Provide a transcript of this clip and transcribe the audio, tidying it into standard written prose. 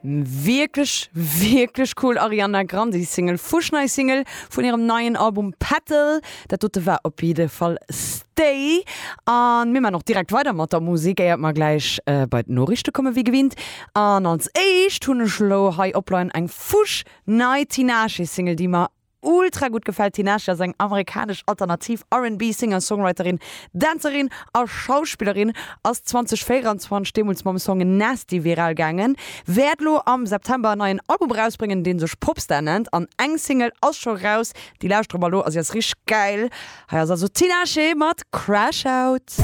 Wierklech, wierklech cool Ariana Grande Single, fuschnei Single vun hirem neien Album Petal. Dat dote war op jidde Fall Stay. An mir man och direkt weider mat der Musek, éiert mer gläich bei d'Noriichte komme wéi gewinnt. An als éischt hunn ech elo hei opleien eng fuschnei Tinashe Single, déi mer Ultra gutt gefält. Tinashe ass eng amerikanesch alternativ R&B Singer-Songwriterin, Dänzerin a Schauspillerin, ass 2024 deemools mam Song Nasty viral gaangen, wäert lo am September en neien Album erausbréngen, dee sech Popstar nennt an eng Single ass scho raus, déi lauschtere mer lo a si ass richteg gäil. Hei ass also Tinashe mat Crash Out.